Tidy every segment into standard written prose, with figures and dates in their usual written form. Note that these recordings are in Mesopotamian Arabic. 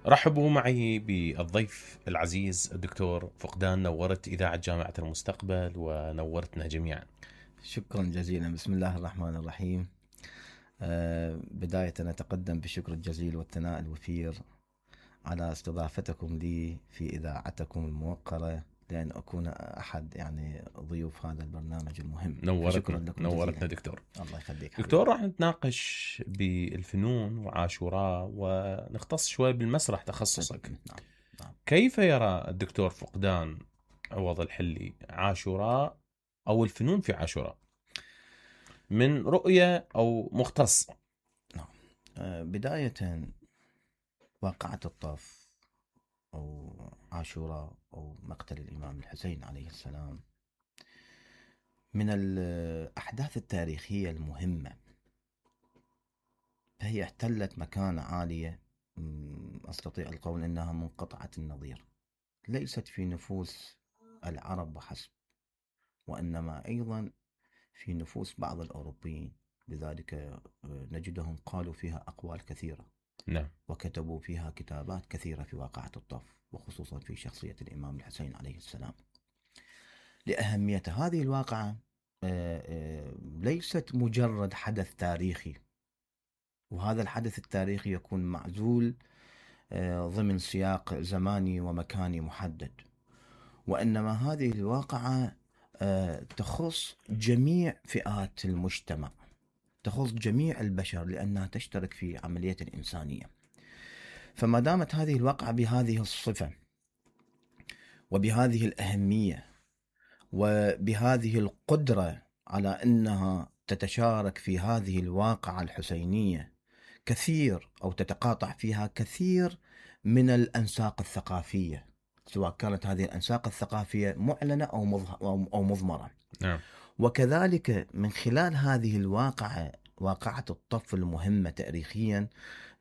رحبوا معي بالضيف العزيز الدكتور فقدان. نورت إذاعة جامعة المستقبل ونورتنا جميعا. شكرا جزيلا. بسم الله الرحمن الرحيم. بداية أتقدم بالشكر الجزيل والثناء الوفير على استضافتكم لي في إذاعتكم الموقرة لأن أكون أحد ضيوف هذا البرنامج المهم. نورتنا دكتور. الله يخليك دكتور. راح نتناقش بالفنون وعاشوراء ونختص شوي بالمسرح تخصصك. نعم. كيف يرى الدكتور فقدان عوض الحلي عاشوراء أو الفنون في عاشوراء من رؤية أو مختص؟ نعم. بداية واقعة الطف أو عاشوراء أو مقتل الإمام الحسين عليه السلام من الأحداث التاريخية المهمة، فهي احتلت مكانة عالية أستطيع القول أنها منقطعة النظير، ليست في نفوس العرب وحسب، وإنما أيضا في نفوس بعض الأوروبيين. لذلك نجدهم قالوا فيها أقوال كثيرة. نعم. وكتبوا فيها كتابات كثيرة في واقعة الطف، وخصوصا في شخصية الإمام الحسين عليه السلام. لأهمية هذه الواقعة ليست مجرد حدث تاريخي، وهذا الحدث التاريخي يكون معزول ضمن سياق زماني ومكاني محدد، وإنما هذه الواقعة تخص جميع فئات المجتمع، تخص جميع البشر، لأنها تشترك في عملية الإنسانية. فما دامت هذه الواقعة بهذه الصفة وبهذه الأهمية وبهذه القدرة على أنها تتشارك في هذه الواقعة الحسينية كثير أو تتقاطع فيها كثير من الأنساق الثقافية، سواء كانت هذه الأنساق الثقافية معلنة أو مضمرة. نعم. وكذلك من خلال هذه الواقعة، واقعة الطف المهمة تاريخيا،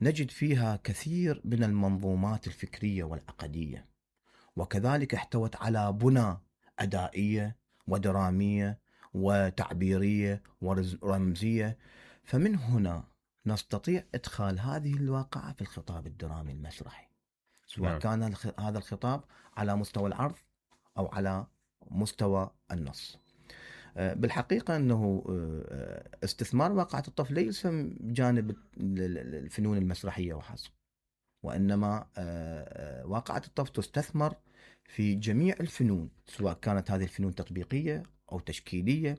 نجد فيها كثير من المنظومات الفكرية والعقدية، وكذلك احتوت على بنى أدائية ودرامية وتعبيرية ورمزية. فمن هنا نستطيع إدخال هذه الواقعة في الخطاب الدرامي المسرحي، سواء نعم. كان هذا الخطاب على مستوى العرض أو على مستوى النص. بالحقيقة أنه استثمار واقعة الطف ليس بجانب الفنون المسرحية وحسب، وإنما واقعة الطف تستثمر في جميع الفنون، سواء كانت هذه الفنون تطبيقية أو تشكيلية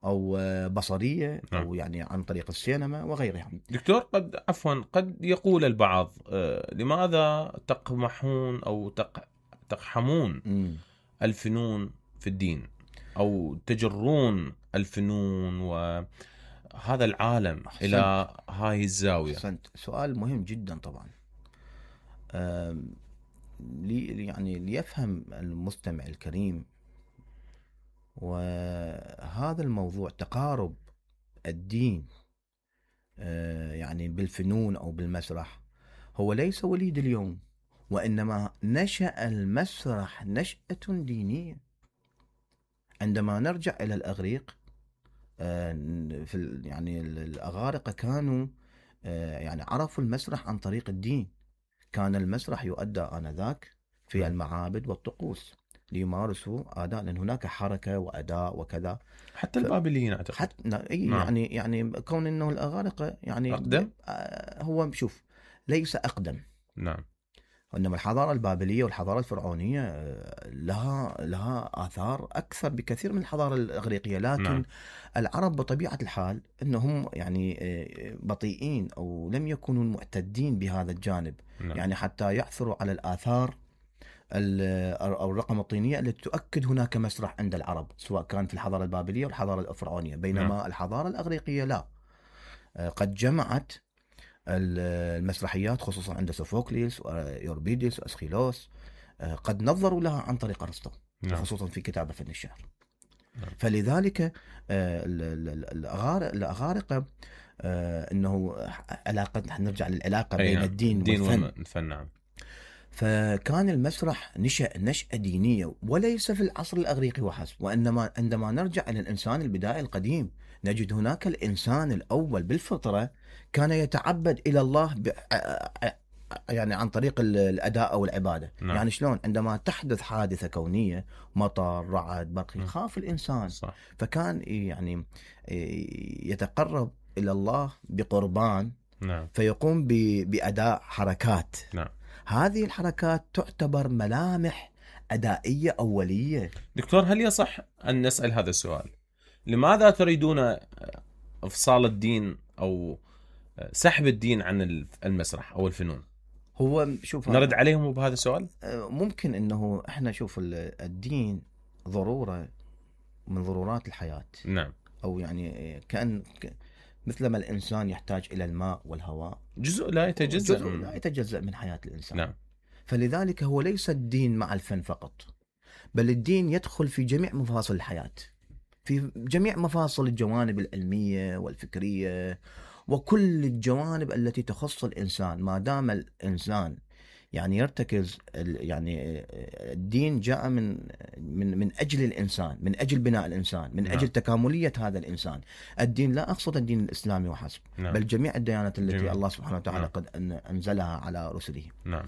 أو بصرية أو عن طريق السينما وغيرها. دكتور، قد يقول البعض لماذا تقمحون أو تقحمون الفنون في الدين، أو تجرون الفنون وهذا العالم إلى هاي الزاوية؟ سؤال مهم جدا طبعا. ليفهم المستمع الكريم، وهذا الموضوع تقارب الدين بالفنون أو بالمسرح هو ليس وليد اليوم، وإنما نشأ المسرح نشأة دينية. عندما نرجع إلى الأغريق، في الأغارقة كانوا عرفوا المسرح عن طريق الدين. كان المسرح يؤدى آنذاك في المعابد والطقوس ليمارسوا أداء، لأن هناك حركة وأداء وكذا. حتى البابليين أعتقد. كون أنه الأغارقة أقدم. هو ليس أقدم. نعم. إنما الحضارة البابلية والحضارة الفرعونية لها آثار أكثر بكثير من الحضارة الإغريقية، لكن العرب بطبيعة الحال أنهم بطيئين أو لم يكونوا معتدين بهذا الجانب. حتى يعثروا على الآثار أو الرقم الطينية التي تؤكد هناك مسرح عند العرب، سواء كان في الحضارة البابلية والحضارة الفرعونية، بينما الحضارة الإغريقية لا، قد جمعت المسرحيات خصوصا عند سوفوكليس ويوربيديس وأسخيلوس، قد نظروا لها عن طريق أرسطو، خصوصا في كتابه فن الشعر. فلذلك الأغارقة أنه علاقة، نرجع للعلاقة بين الدين والفن. نعم. فكان المسرح نشأة دينية وليس في العصر الأغريقي وحسب، وإنما عندما نرجع إلى الإنسان البدائي القديم نجد هناك الإنسان الأول بالفطرة كان يتعبد إلى الله يعني عن طريق الأداء أو العبادة. نعم. يعني شلون عندما تحدث حادثة كونية، مطر، رعد، برق، يخاف الإنسان. صح. فكان يعني يتقرب إلى الله بقربان. نعم. فيقوم بأداء حركات. نعم. هذه الحركات تعتبر ملامح أدائية أولية. دكتور، هل يصح أن نسأل هذا السؤال؟ لماذا تريدون إفصال الدين أو سحب الدين عن المسرح أو الفنون؟ هو شوف، نرد عليهم بهذا السؤال؟ ممكن انه احنا شوف الدين ضرورة من ضرورات الحياة. نعم. او يعني كأن مثلما الانسان يحتاج الى الماء والهواء، جزء لا يتجزأ جزء لا يتجزأ من حياة الانسان. نعم. فلذلك هو ليس الدين مع الفن فقط، بل الدين يدخل في جميع مفاصل الحياة، في جميع مفاصل الجوانب العلمية والفكرية وكل الجوانب التي تخص الإنسان. ما دام الإنسان يعني يرتكز، يعني الدين جاء من أجل الإنسان، من أجل بناء الإنسان، من أجل تكاملية هذا الإنسان. الدين لا أقصد الدين الإسلامي وحسب، بل جميع الديانات التي الله سبحانه وتعالى قد أنزلها على رسله. نعم.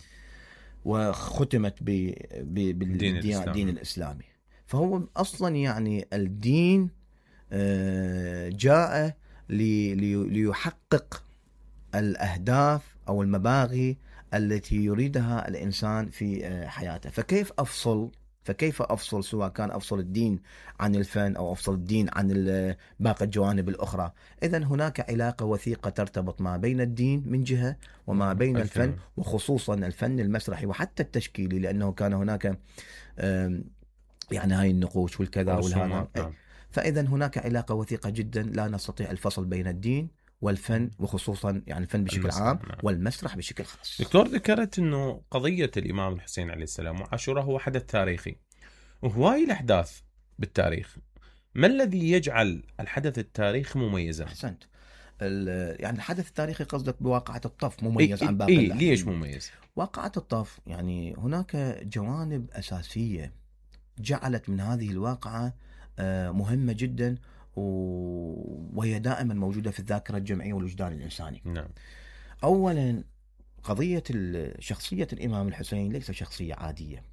وختمت بالدين الإسلامي. فهو أصلا يعني الدين جاء ليحقق الأهداف أو المباغي التي يريدها الإنسان في حياته. فكيف أفصل سواء كان أفصل الدين عن الفن أو أفصل الدين عن باقي الجوانب الأخرى؟ إذن هناك علاقة وثيقة ترتبط ما بين الدين من جهة وما بين الفن، وخصوصا الفن المسرحي وحتى التشكيلي، لأنه كان هناك يعني هاي النقوش والكذا والهذا. فإذا هناك علاقة وثيقة جدا، لا نستطيع الفصل بين الدين والفن، وخصوصا يعني الفن بشكل عام والمسرح بشكل خاص. دكتور، ذكرت أنه قضية الإمام الحسين عليه السلام وعاشوراء هو حدث تاريخي، وهواي الأحداث بالتاريخ. ما الذي يجعل الحدث التاريخي مميزا؟ أحسنت. يعني الحدث التاريخي قصدك بواقعة الطف مميز عن باقي الأحداث. ليش مميز؟ واقعة الطف يعني هناك جوانب أساسية جعلت من هذه الواقعة مهمة جدا، وهي دائما موجودة في الذاكرة الجمعية والوجدان الإنساني. نعم. أولا قضية شخصية الإمام الحسين ليس شخصية عادية،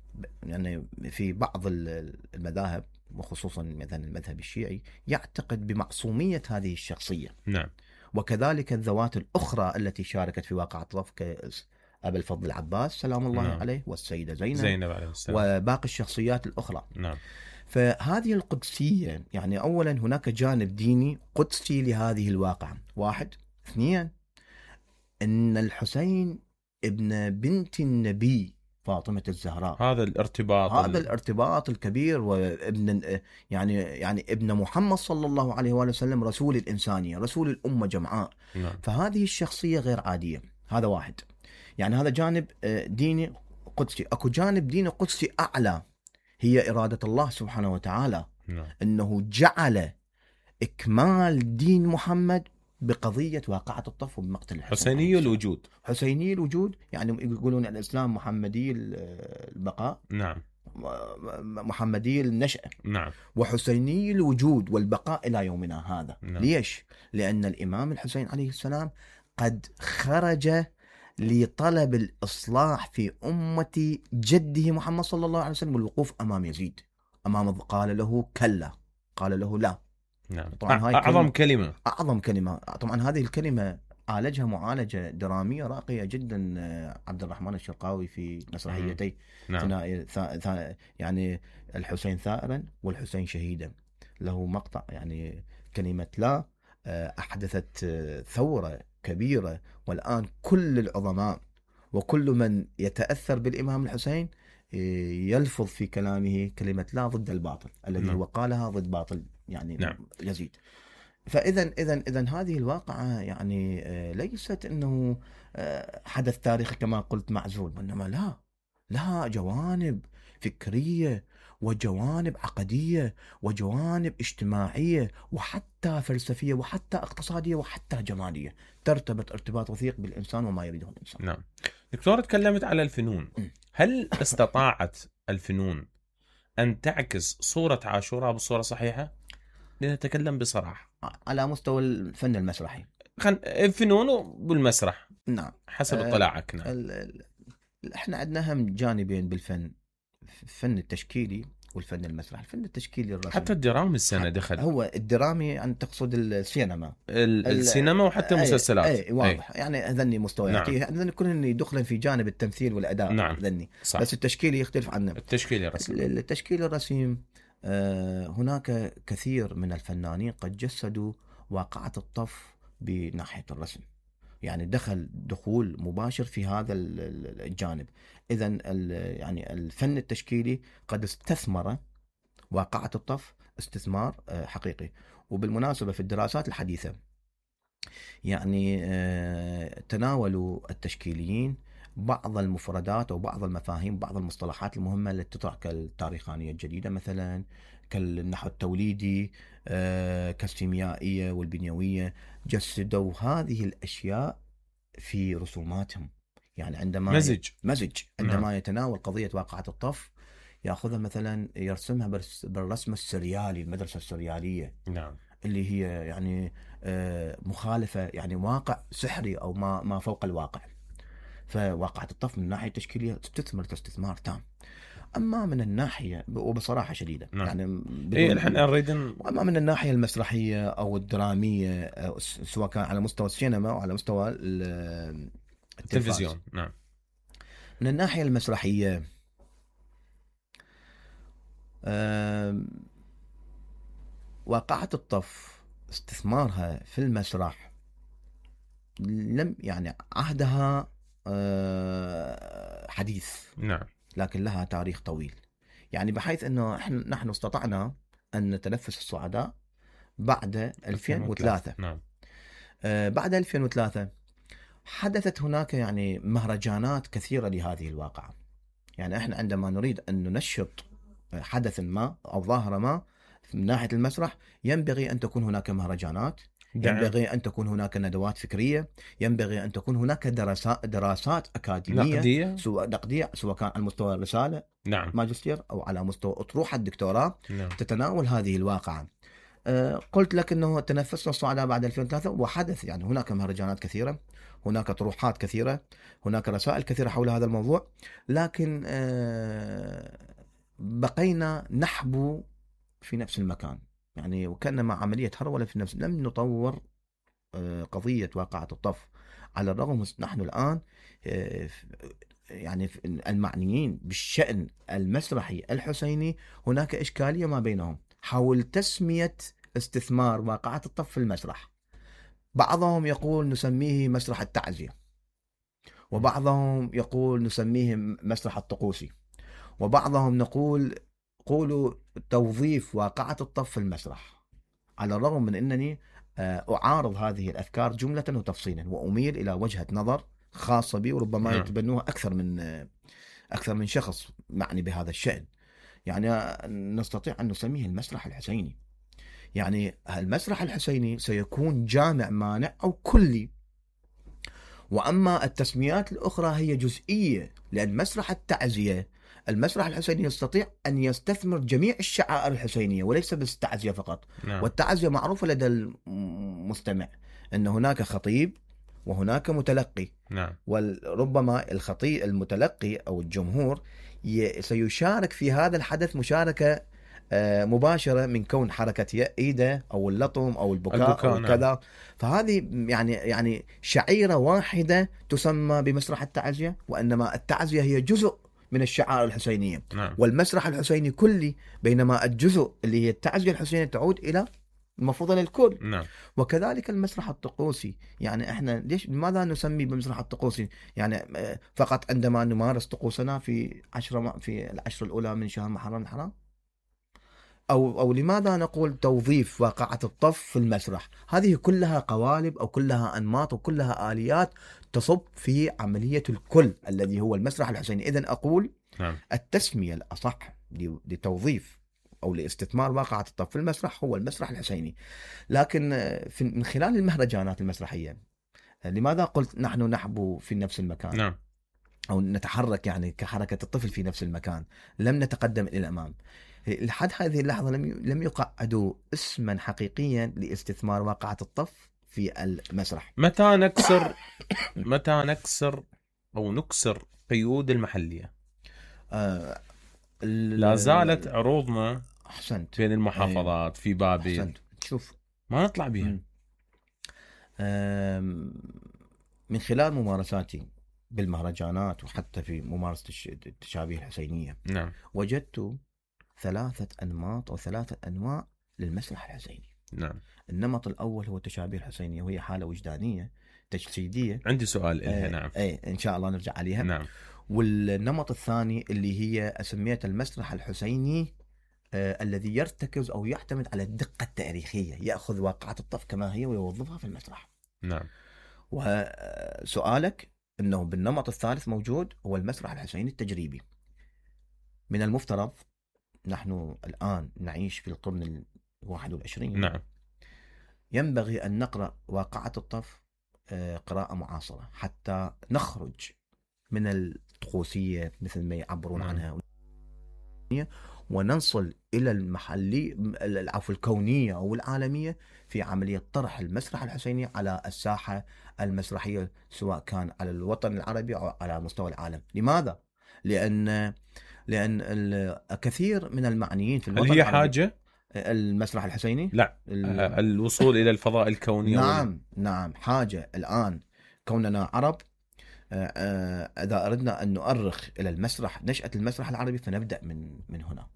يعني في بعض المذاهب وخصوصا مثلا المذهب الشيعي يعتقد بمعصومية هذه الشخصية. نعم. وكذلك الذوات الأخرى التي شاركت في واقعة الطف كأبي الفضل العباس سلام الله عليه، والسيدة زينب عليه السلام، وباقي الشخصيات الأخرى. نعم. فهذه القدسية، يعني أولا هناك جانب ديني قدسي لهذه الواقعة. واحد. اثنين، أن الحسين ابن بنت النبي فاطمة الزهراء، هذا الارتباط الكبير، وابن يعني ابن محمد صلى الله عليه وآله وسلم، رسول الإنسانية، رسول الأمة جمعاء. نعم. فهذه الشخصية غير عادية. هذا واحد، يعني هذا جانب ديني قدسي. أكو جانب ديني قدسي أعلى، هي إرادة الله سبحانه وتعالى. نعم. أنه جعل إكمال دين محمد بقضية واقعة الطف وبمقتل الحسين. حسيني الوجود، يعني يقولون الإسلام محمدي البقاء. نعم. محمدي النشأة. نعم. وحسيني الوجود والبقاء إلى يومنا هذا. نعم. ليش؟ لأن الإمام الحسين عليه السلام قد خرج لطلب الإصلاح في أمة جده محمد صلى الله عليه وسلم، والوقوف أمام يزيد، قال له كلا، قال له لا. نعم. أعظم كلمة. طبعا هذه الكلمة عالجها معالجة درامية راقية جدا عبد الرحمن الشرقاوي في مسرحيتي. نعم. يعني الحسين ثائرا والحسين شهيدا. له مقطع يعني كلمة لا أحدثت ثورة كبيرة، والآن كل العظماء وكل من يتأثر بالإمام الحسين يلفظ في كلامه كلمة لا ضد الباطل الذي هو قالها ضد باطل يعني يزيد. فإذا هذه الواقعة يعني ليست أنه حدث تاريخي كما قلت معزول، وإنما لها جوانب فكرية وجوانب عقدية وجوانب اجتماعية وحتى فلسفية وحتى اقتصادية وحتى جمالية، ترتبط ارتباط وثيق بالإنسان وما يريده الإنسان. نعم. دكتور، تكلمت على الفنون. هل استطاعت الفنون أن تعكس صورة عاشوراء بصورة صحيحة؟ لنتكلم بصراحة على مستوى الفن المسرحي. الفنون والمسرح نعم حسب اطلاعك. نعم. احنا عندنا هم جانبين بالفن، الفن التشكيلي والفن المسرح. الفن التشكيلي الرسم، حتى الدراما السنة دخل. هو الدرامي أن تقصد السينما، السينما وحتى المسلسلات. اي واضح. يعني هذني مستويات، نعم. هذني كلهم يدخلن في جانب التمثيل والأداء. نعم. هذني صح. بس التشكيلي يختلف عنه. التشكيل الرسم. التشكيل الرسيم هناك كثير من الفنانين قد جسدوا واقعة الطف بناحية الرسم، يعني دخول مباشر في هذا الجانب. إذن يعني الفن التشكيلي قد استثمر واقعة الطف استثمار حقيقي. وبالمناسبة في الدراسات الحديثة يعني تناولوا التشكيليين بعض المفردات أو بعض المفاهيم، بعض المصطلحات المهمة التي تطرح كالتاريخانية الجديدة مثلا، كالنحو التوليدي، كالسيميائية والبنيوية. جسدوا هذه الأشياء في رسوماتهم. يعني عندما مزج عندما يتناول قضية واقعة الطف يأخذها مثلا يرسمها بالرسم السريالي، المدرسة السريالية. نعم. اللي هي يعني مخالفة، يعني واقع سحري أو ما فوق الواقع. فواقعة الطف من الناحية التشكيلية استثمار تام. أما من الناحية، وبصراحة شديدة، نعم. يعني الحين نريد أما من الناحية المسرحية أو الدرامية، سواء كان على مستوى السينما أو على مستوى التلفزيون. نعم. من الناحية المسرحية واقعة الطف استثمارها في المسرح لم يعني عهدها حديث. نعم. لكن لها تاريخ طويل، يعني بحيث أنه نحن استطعنا أن نتنفس الصعداء بعد 2003. نعم. بعد 2003 حدثت هناك يعني مهرجانات كثيرة لهذه الواقعة. يعني احنا عندما نريد أن ننشط حدث ما أو ظاهرة ما من ناحية المسرح، ينبغي أن تكون هناك مهرجانات، ينبغي أن تكون هناك ندوات فكرية، ينبغي أن تكون هناك دراسات أكاديمية نقدية، سواء كان على مستوى الرسالة، نعم، ماجستير، أو على مستوى أطروحة الدكتوراه، نعم، تتناول هذه الواقعة. قلت لك أنه تنفسنا الصعداء بعد 2003 وحدث يعني هناك مهرجانات كثيرة، هناك طروحات كثيرة، هناك رسائل كثيرة حول هذا الموضوع. لكن بقينا نحبو في نفس المكان، يعني وكأنما عملية هرولة في نفس، لم نطور قضية واقعة الطف. على الرغم نحن الآن يعني المعنيين بالشأن المسرحي الحسيني هناك إشكالية ما بينهم حول تسمية استثمار واقعة الطف في المسرح. بعضهم يقول نسميه مسرح التعزية، وبعضهم يقول نسميه مسرح الطقوسي، وبعضهم قولوا توظيف واقعة الطف في المسرح. على الرغم من أنني أعارض هذه الأفكار جملة وتفصيلا، وأميل إلى وجهة نظر خاصة بي، وربما يتبنوها أكثر من شخص معني بهذا الشأن. يعني نستطيع أن نسميه المسرح الحسيني. يعني المسرح الحسيني سيكون جامع مانع أو كلي، وأما التسميات الأخرى هي جزئية، لأن مسرح التعزية، المسرح الحسيني يستطيع أن يستثمر جميع الشعائر الحسينية وليس بس التعزية فقط. نعم. والتعزية معروفة لدى المستمع أن هناك خطيب وهناك متلقي. نعم. وربما الخطيب المتلقي أو الجمهور سيشارك في هذا الحدث مشاركة مباشرة من كون حركة إيده أو اللطم أو البكاء أو كذا. نعم. فهذه يعني شعيرة واحدة تسمى بمسرح التعزية، وإنما التعزية هي جزء من الشعائر الحسينية. نعم. والمسرح الحسيني كلي، بينما الجزء اللي هي التعزية الحسينية تعود إلى المفروض للكل. نعم. وكذلك المسرح الطقوسي، يعني احنا لماذا نسمي بمسرح الطقوسي؟ يعني فقط عندما نمارس طقوسنا في العشر الأولى من شهر محرم الحرام، أو لماذا نقول توظيف واقعة الطف في المسرح؟ هذه كلها قوالب أو كلها أنماط وكلها آليات تصب في عملية الكل الذي هو المسرح الحسيني. إذن أقول نعم. التسمية الأصح لتوظيف أو لاستثمار واقعة الطف في المسرح هو المسرح الحسيني. لكن من خلال المهرجانات المسرحية، لماذا قلت نحن نحبو في نفس المكان؟ نعم. أو نتحرك يعني كحركة الطفل في نفس المكان، لم نتقدم إلى الأمام. لحد هذه اللحظة لم يقعدوا اسما حقيقيا لاستثمار واقعة الطف في المسرح. متى نكسر أو نكسر قيود المحلية؟ لا زالت عروضنا أحسنت بين المحافظات في بابل. أحسنت. شوف ما نطلع بها. من خلال ممارساتي بالمهرجانات وحتى في ممارسة التشابيه الحسينية، نعم، وجدت 3 أنماط أو 3 أنواع للمسرح الحسيني. نعم. النمط الأول هو التشابيه الحسينية، وهي حالة وجدانية تجسيدية. عندي سؤال إلها. نعم. إن شاء الله نرجع عليها. نعم. والنمط الثاني اللي هي أسميت المسرح الحسيني الذي يرتكز أو يعتمد على الدقة التاريخية، يأخذ واقعة الطف كما هي ويوظفها في المسرح. نعم. وسؤالك أنه بالنمط الثالث موجود هو المسرح الحسيني التجريبي. من المفترض نحن الآن نعيش في القرن 21. نعم. ينبغي أن نقرأ واقعة الطف قراءة معاصرة حتى نخرج من الطقوسية مثل ما يعبرون عنها، وننصل إلى الكونية أو العالمية في عملية طرح المسرح الحسيني على الساحة المسرحية، سواء كان على الوطن العربي أو على مستوى العالم. لماذا؟ لأن كثير من المعنيين في الوطن هل هي العربي حاجة المسرح الحسيني؟ لا، الوصول إلى الفضاء الكوني. نعم حاجة. الآن كوننا عرب، إذا أردنا أن نؤرخ إلى المسرح، نشأة المسرح العربي، فنبدأ من هنا،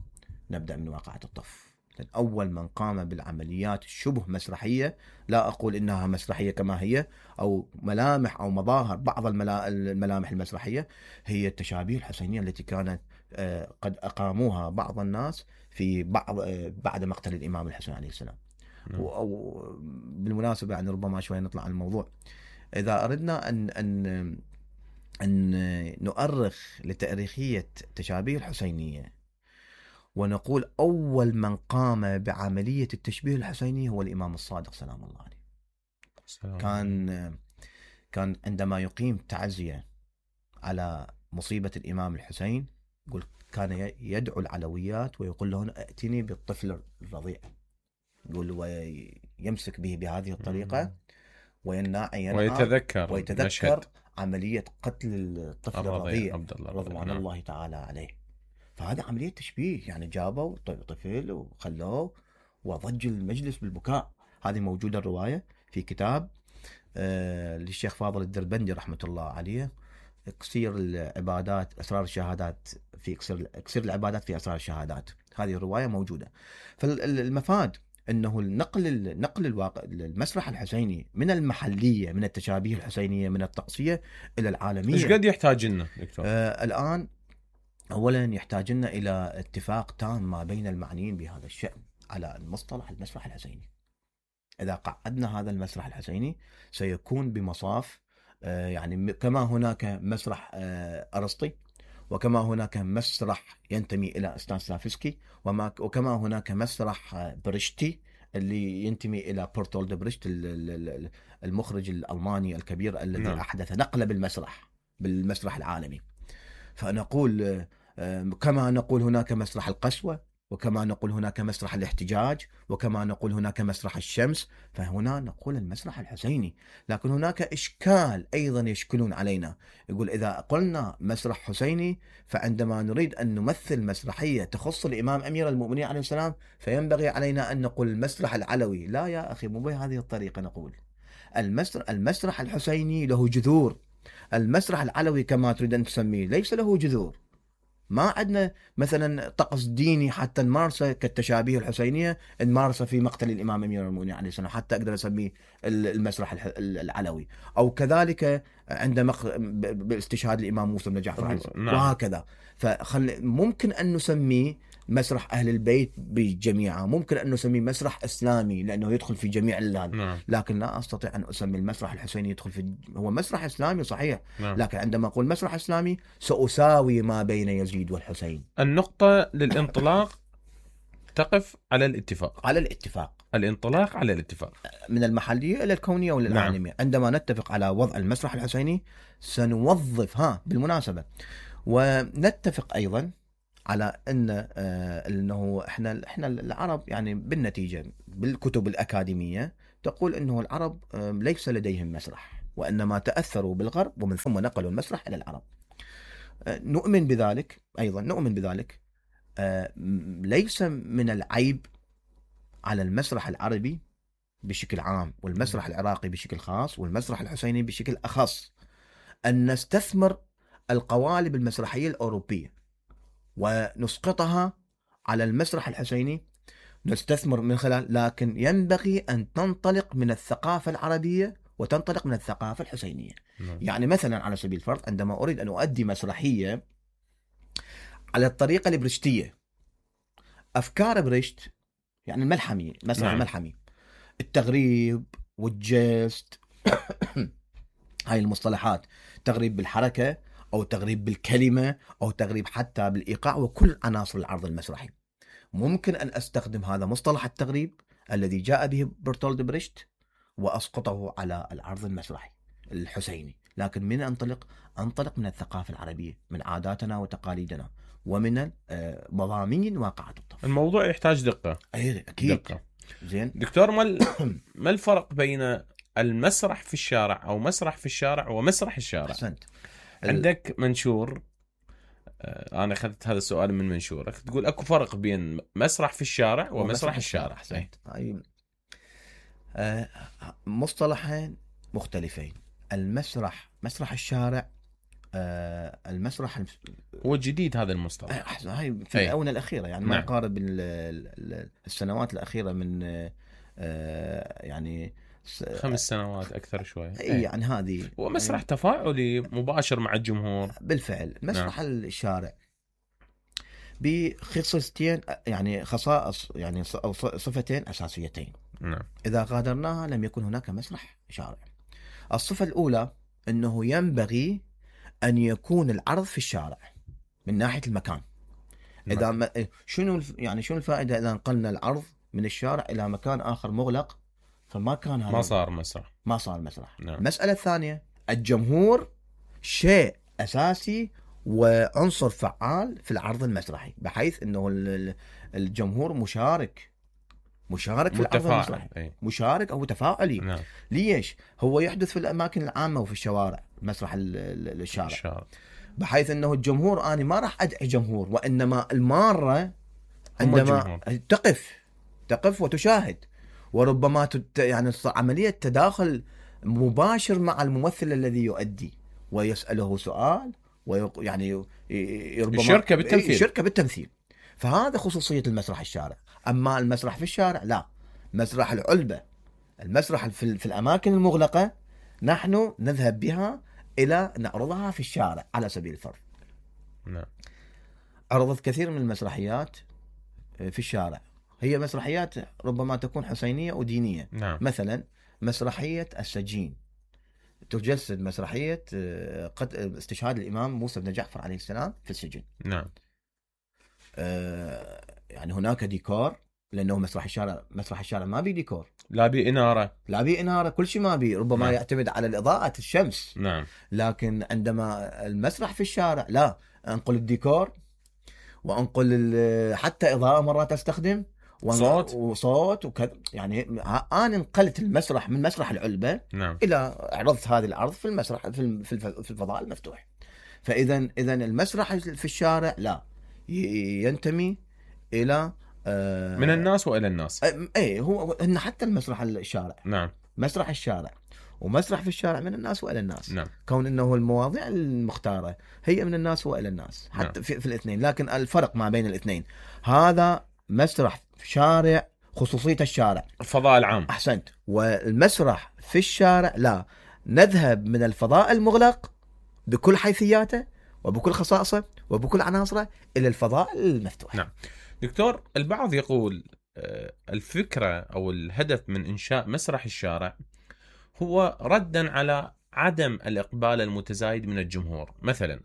نبدأ من واقعة الطف. أول من قام بالعمليات الشبه مسرحية، لا أقول إنها مسرحية كما هي، أو ملامح أو مظاهر بعض الملامح المسرحية، هي التشابيه الحسينية التي كانت قد أقاموها بعض الناس في بعد مقتل الإمام الحسين عليه السلام. أو بالمناسبة يعني ربما شوي نطلع عن الموضوع، إذا أردنا أن نؤرخ لتاريخية تشابيه الحسينية ونقول أول من قام بعملية التشبيه الحسيني هو الإمام الصادق سلام الله عليه. كان عندما يقيم تعزية على مصيبة الإمام الحسين، يقول كان يدعو العلويات ويقول لهن ائتني بالطفل الرضيع، يقول ويمسك به بهذه الطريقة ويتذكر عملية قتل الطفل الرضيع رضوان الله تعالى عليه. فهذا عملية تشبيه، يعني جابوا طفل وخلوه وضج المجلس بالبكاء. هذه موجودة الرواية في كتاب للشيخ فاضل الدربندي رحمة الله عليه، اكسير العبادات أسرار الشهادات، في اكسير العبادات في أسرار الشهادات. هذه الرواية موجودة. فالمفاد انه نقل الواقع المسرح الحسيني من المحليه، من التشابيه الحسينيه، من الطقسيه الى العالميه. ايش قد يحتاج لنا دكتور؟ الان اولا يحتاج لنا الى اتفاق تام ما بين المعنيين بهذا الشأن على المصطلح المسرح الحسيني. اذا قعدنا هذا المسرح الحسيني سيكون بمصاف يعني كما هناك مسرح ارسطي، وكما هناك مسرح ينتمي إلى ستانسلافسكي، وكما هناك مسرح بريشتي اللي ينتمي إلى بورتولد بريشت المخرج الألماني الكبير الذي أحدث نقلة بالمسرح العالمي. فنقول كما نقول هناك مسرح القسوة، وكما نقول هناك مسرح الاحتجاج، وكما نقول هناك مسرح الشمس، فهنا نقول المسرح الحسيني. لكن هناك إشكال أيضا يشكلون علينا، يقول إذا قلنا مسرح حسيني فعندما نريد أن نمثل مسرحية تخص الإمام أمير المؤمنين عليه السلام فينبغي علينا أن نقول المسرح العلوي. لا يا أخي، مو بهذه الطريقة نقول. المسرح الحسيني له جذور، المسرح العلوي كما تريد أن تسميه ليس له جذور. ما عندنا مثلا طقس ديني حتى نمارسه كالتشابيه الحسينية نمارسه في مقتل الإمام أمير المؤمنين عليه السلام حتى أقدر أسميه المسرح العلوي. أو كذلك عند باستشهاد الإمام موسى بن جعفر وهكذا. ممكن أن نسميه مسرح أهل البيت بجميعه، ممكن أن نسميه مسرح إسلامي لأنه يدخل في جميع لكن لا أستطيع أن أسمي المسرح الحسيني يدخل في هو مسرح إسلامي صحيح، لكن عندما أقول مسرح إسلامي سأساوي ما بين يزيد والحسين. النقطة للانطلاق تقف على الاتفاق. الانطلاق على الاتفاق من المحلية إلى الكونية والعالمية. عندما نتفق على وضع المسرح الحسيني سنوظف بالمناسبة، ونتفق أيضا على انه احنا العرب يعني بالنتيجه بالكتب الاكاديميه تقول أنه العرب ليس لديهم مسرح، وإنما تأثروا بالغرب ومن ثم نقلوا المسرح إلى العرب. نؤمن بذلك، أيضا نؤمن بذلك. ليس من العيب على المسرح العربي بشكل عام والمسرح العراقي بشكل خاص والمسرح الحسيني بشكل أخص أن نستثمر القوالب المسرحية الأوروبية ونسقطها على المسرح الحسيني، نستثمر من خلال، لكن ينبغي أن تنطلق من الثقافة العربية وتنطلق من الثقافة الحسينية. يعني مثلا على سبيل الفرض عندما أريد أن أؤدي مسرحية على الطريقة البرشتية، أفكار برشت يعني الملحمي، مسرح الملحمي، التغريب والجست هاي المصطلحات، تغريب بالحركة أو تغريب بالكلمة أو تغريب حتى بالإيقاع وكل عناصر العرض المسرحي. ممكن أن أستخدم هذا مصطلح التغريب الذي جاء به برتولد بريشت وأسقطه على العرض المسرحي الحسيني، لكن من أنطلق من الثقافة العربية، من عاداتنا وتقاليدنا ومن مضامين واقعة الطفل. الموضوع يحتاج دقة. أكيد دقة. زين دكتور، ما الفرق بين المسرح في الشارع أو مسرح في الشارع ومسرح الشارع؟ أحسنت. عندك منشور، أنا أخذت هذا السؤال من منشورك، تقول أكو فرق بين مسرح في الشارع ومسرح الشارع. أحسنت. هاي مصطلحين مختلفين. مسرح الشارع، المسرح هو جديد هذا المصطلح، هاي في الآونة الأخيرة، يعني ما يقارب السنوات الأخيرة من يعني 5 سنوات أكثر شوية. يعني هذه ومسرح تفاعلي مباشر مع الجمهور. بالفعل. مسرح الشارع بخصيصتين، يعني خصائص، يعني صفتين أساسيتين. إذا غادرناها لم يكن هناك مسرح شارع. الصفة الأولى أنه ينبغي أن يكون العرض في الشارع من ناحية المكان. إذا شنو الفائدة إذا نقلنا العرض من الشارع إلى مكان آخر مغلق؟ فما كان هذا، ما صار مسرح. المسألة الثانية، الجمهور شيء أساسي وعنصر فعال في العرض المسرحي، بحيث أنه الجمهور مشارك في العرض المسرحي، مشارك أو تفاعلي. ليش؟ هو يحدث في الأماكن العامة وفي الشوارع، مسرح الشارع، بحيث أنه الجمهور، أنا ما راح أدعي جمهور، وإنما المارة عندما تقف وتشاهد، وربما يعني عملية تداخل مباشر مع الممثل الذي يؤدي ويسأله سؤال، ويعني ربما شركة بالتمثيل. فهذا خصوصية المسرح الشارع. أما المسرح في الشارع لا، مسرح العلبة، المسرح في الأماكن المغلقة، نحن نذهب بها إلى نعرضها في الشارع. على سبيل الفرض عرضت كثير من المسرحيات في الشارع، هي مسرحيات ربما تكون حسينية ودينية. مثلا مسرحية السجين تجسد مسرحية استشهاد الإمام موسى بن جعفر عليه السلام في السجن. يعني هناك ديكور، لأنه مسرح الشارع ما بي ديكور، لا بي إنارة، كل شيء ما بي، ربما يعتمد على الإضاءة الشمس. لكن عندما المسرح في الشارع لا، أنقل الديكور وأنقل حتى إضاءة مرات أستخدم وصوت وكذا. يعني أنا انقلت المسرح من مسرح العلبة إلى عرضت هذه العرض في المسرح في الفضاء المفتوح. فإذا المسرح في الشارع لا، ينتمي إلى من الناس وإلى الناس. هو إن حتى المسرح الشارع، مسرح الشارع ومسرح في الشارع من الناس وإلى الناس. كون إنه المواضيع المختارة هي من الناس وإلى الناس، حتى في الاثنين. لكن الفرق ما بين الاثنين، هذا مسرح في شارع، خصوصية الشارع، الفضاء العام. أحسنت. والمسرح في الشارع لا، نذهب من الفضاء المغلق بكل حيثياته وبكل خصائصه وبكل عناصره إلى الفضاء المفتوح. دكتور، البعض يقول الفكرة أو الهدف من إنشاء مسرح الشارع هو ردا على عدم الإقبال المتزايد من الجمهور. مثلا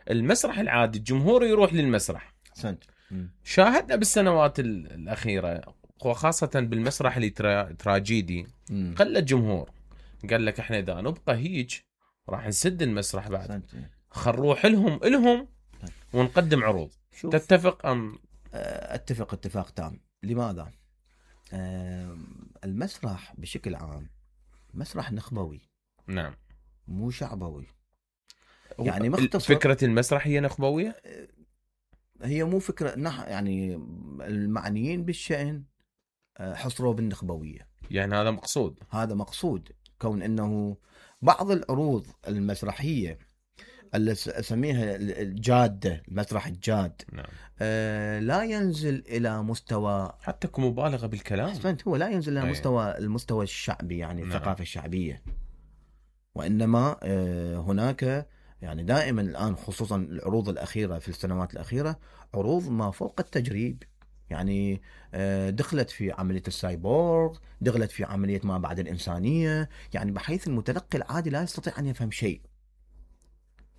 المسرح العادي الجمهور يروح للمسرح. شاهدنا بالسنوات الأخيرة وخاصة بالمسرح التراجيدي قل الجمهور. قال لك احنا إذا نبقى هيج راح نسد المسرح بعد، خنروح لهم ونقدم عروض. تتفق أم؟ اتفق اتفاق تام. لماذا؟ المسرح بشكل عام مسرح نخبوي نعم. مو شعبوي. هو يعني مختصر، فكرة المسرح هي نخبوية؟ هي مو فكرة يعني المعنيين بالشأن حصروا بالنخبوية. يعني هذا مقصود. هذا مقصود، كون انه بعض العروض المسرحية اللي اسميها الجادة، المسرح الجاد، نعم. لا ينزل الى مستوى، حتى كمبالغة بالكلام. احسنت، هو لا ينزل الى أي. المستوى الشعبي، يعني نعم. الثقافة الشعبية. وانما هناك يعني دائما الان، خصوصا العروض الاخيرة في السنوات الاخيرة، عروض ما فوق التجريب. يعني دخلت في عملية السايبورغ، دخلت في عملية ما بعد الإنسانية، يعني بحيث المتلقي العادي لا يستطيع أن يفهم شيء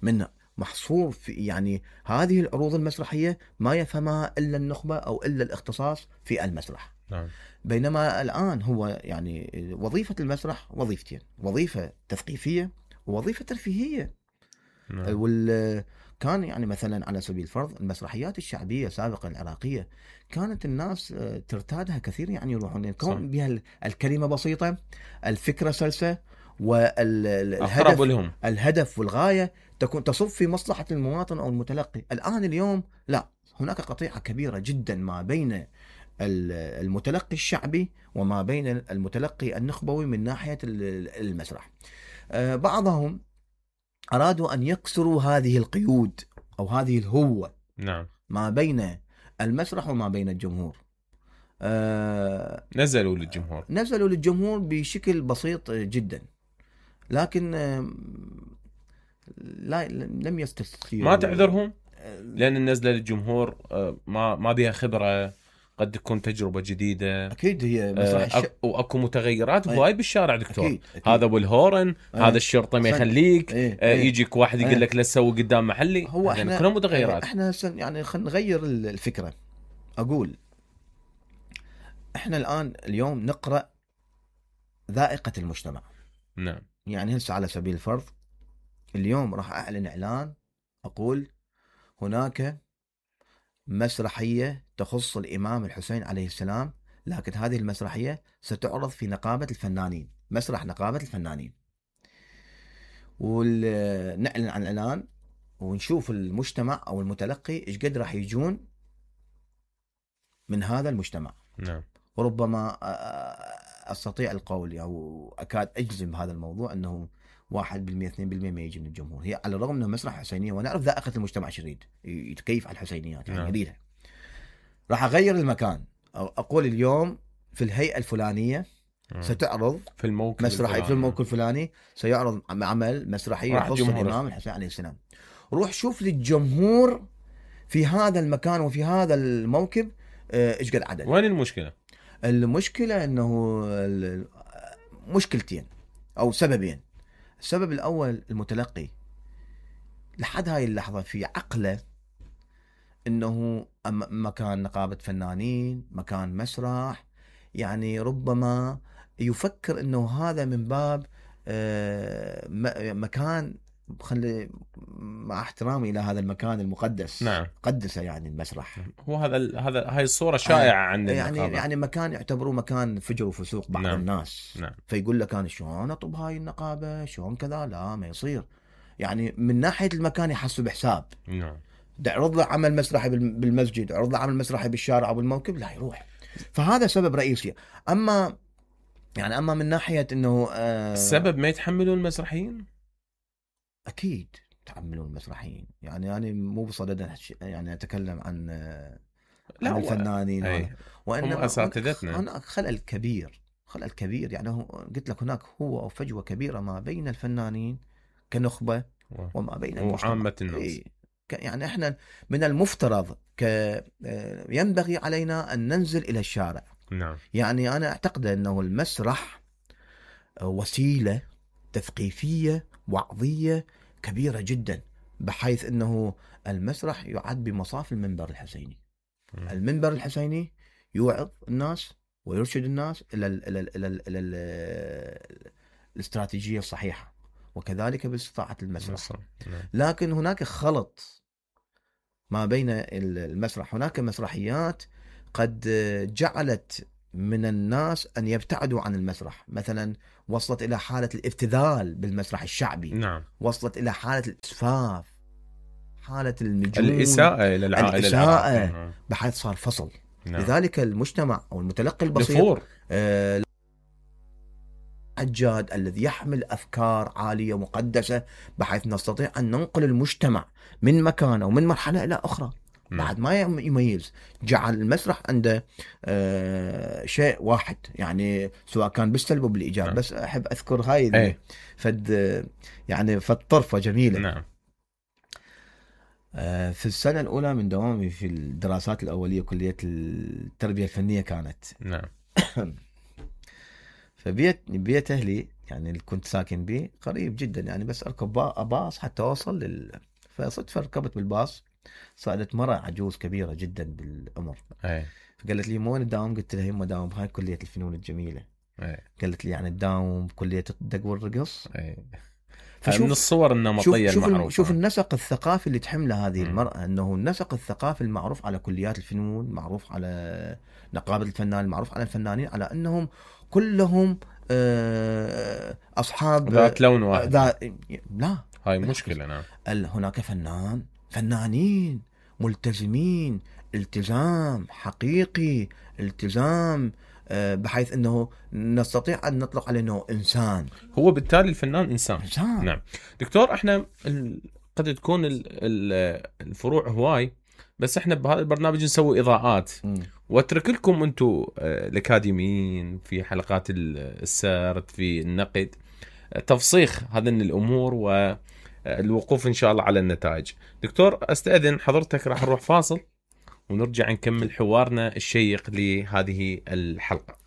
منها، محصور في يعني هذه العروض المسرحية ما يفهمها إلا النخبة أو إلا الاختصاص في المسرح. نعم. بينما الآن هو يعني وظيفة المسرح وظيفتين، وظيفة تثقيفية ووظيفة ترفيهية. نعم. كان يعني مثلا على سبيل الفرض المسرحيات الشعبية سابقا العراقية كانت الناس ترتادها كثير، يعني يروحون يكون بها الكلمة بسيطة، الفكرة سلسة، الهدف والغاية تكون تصب في مصلحة المواطن أو المتلقي. الآن اليوم لا، هناك قطيعة كبيرة جدا ما بين المتلقي الشعبي وما بين المتلقي النخبوي من ناحية المسرح. بعضهم أرادوا أن يكسروا هذه القيود أو هذه الهوة، نعم، ما بين المسرح وما بين الجمهور. نزلوا للجمهور بشكل بسيط جدا، لكن لم يستسيغوا. ما تعذرهم لأن النزلة للجمهور ما بها خبرة، قد تكون تجربة جديدة. أكيد هي مسرح وأكو متغيرات هواي بالشارع دكتور. أكيد. هذا بالهورن، هذا الشرطة ما يخليك، يجيك واحد يقول لك لا تسوي قدام محلي. هو يعني كلها متغيرات. احنا يعني خلينا نغير الفكرة. أقول احنا اليوم نقرأ ذائقة المجتمع. نعم. يعني هسه على سبيل الفرض اليوم راح أعلن إعلان، أقول هناك مسرحية تخص الإمام الحسين عليه السلام، لكن هذه المسرحية ستعرض في نقابة الفنانين، مسرح نقابة الفنانين، ونعلن عن الإعلان ونشوف المجتمع أو المتلقي إيش قد راح يجون من هذا المجتمع. نعم. وربما أستطيع القول أو أكاد أجزم بهذا الموضوع أنه 1% 2% ما يجي من الجمهور. هي على الرغم أنه مسرح حسينية ونعرف ذائقة المجتمع يريد يتكيف على الحسينيات، يعني يريدها. راح أغير المكان، أقول اليوم في الهيئة الفلانية ستعرض في الموكب مسرحي في الموكب الفلاني سيعرض عمل مسرحي يخص الإمام الحسين عليه السلام. روح شوف للجمهور في هذا المكان وفي هذا الموكب ايش قد عدد. وين المشكلة؟ المشكلة انه مشكلتين او سببين. السبب الاول المتلقي لحد هاي اللحظة في عقله انه مكان نقابة فنانين، مكان مسرح، يعني ربما يفكر انه هذا من باب مكان، خلي مع احترامي الى هذا المكان المقدس. نعم. قدسه يعني المسرح. هو هاي الصورة شائعة عند النقابة. يعني مكان يعتبروه مكان فجر وفسوق بعض نعم. الناس. نعم. فيقول لك انا شلون اطب هاي النقابة، شلون كذا، لا ما يصير. يعني من ناحية المكان يحسوا بحساب. نعم. عرض له عمل مسرحي بالمسجد، عرض له عمل مسرحي بالشارع او بالموكب، لا يروح. فهذا سبب رئيسي. اما من ناحية انه السبب ما يتحملون المسرحيين. اكيد يتحملون المسرحيين. يعني انا مو بصدد يعني اتكلم عن الفنانين، وانما هم اساتذتنا. هناك خلل كبير. يعني قلت لك هناك هو فجوة كبيرة ما بين الفنانين كنخبة وما بين وعامة الناس. يعني احنا من المفترض ينبغي علينا ان ننزل الى الشارع. نعم. يعني انا اعتقد انه المسرح وسيلة تثقيفية وعظية كبيرة جدا، بحيث انه المسرح يعد بمصاف المنبر الحسيني. المنبر الحسيني يوعظ الناس ويرشد الناس الى الاستراتيجية الصحيحة، وكذلك باستطاعة المسرح. لكن هناك خلط ما بين المسرح. هناك مسرحيات قد جعلت من الناس أن يبتعدوا عن المسرح، مثلا وصلت إلى حالة الابتذال بالمسرح الشعبي، نعم. وصلت إلى حالة الإسفاف، حالة النجوم، الإساءة إلى العائلة الإساءة، بحيث صار فصل. نعم. لذلك المجتمع أو المتلقي البسيط نفور. الحجاد الذي يحمل أفكار عالية مقدسة، بحيث نستطيع أن ننقل المجتمع من مكان أو من مرحلة إلى أخرى بعد ما يميز. جعل المسرح عنده شيء واحد، يعني سواء كان بالسلب وبالإيجاب. بس أحب أذكر هاي يعني طرفة جميلة. نعم. في السنة الأولى من دوامي في الدراسات الأولية كلية التربية الفنية كانت. نعم. فبيت أهلي يعني اللي كنت ساكن به قريب جدا، يعني بس أركب باص حتى أوصل فصدفة ركبت بالباص، صارت مرة عجوز كبيرة جدا بالعمر. فقالت لي: وين تداوم؟ قلت لها: يما داوم بهاي كلية الفنون الجميلة. قالت لي: يعني تداوم بكلية الدق والرقص؟ فشوف من الصور النمطية المعروفة. شوف النسق الثقافي اللي تحمله هذه المرأة، أنه النسق الثقافي المعروف على كليات الفنون، معروف على نقابة الفنان، معروف على الفنانين، على أنهم كلهم أصحاب ذات لون واحد. لا، هاي مشكلة. نعم. هناك فنانين ملتزمين التزام حقيقي، التزام بحيث أنه نستطيع أن نطلق عليه أنه إنسان. هو بالتالي الفنان إنسان. نعم. دكتور، احنا قد تكون الفروع هواي، بس احنا بهذا البرنامج نسوي إضاءات واترك لكم انتم الأكاديميين في حلقات السرد، في النقد، تفصيخ هذه الأمور والوقوف إن شاء الله على النتائج. دكتور، أستأذن حضرتك، راح نروح فاصل ونرجع نكمل حوارنا الشيق لهذه الحلقة.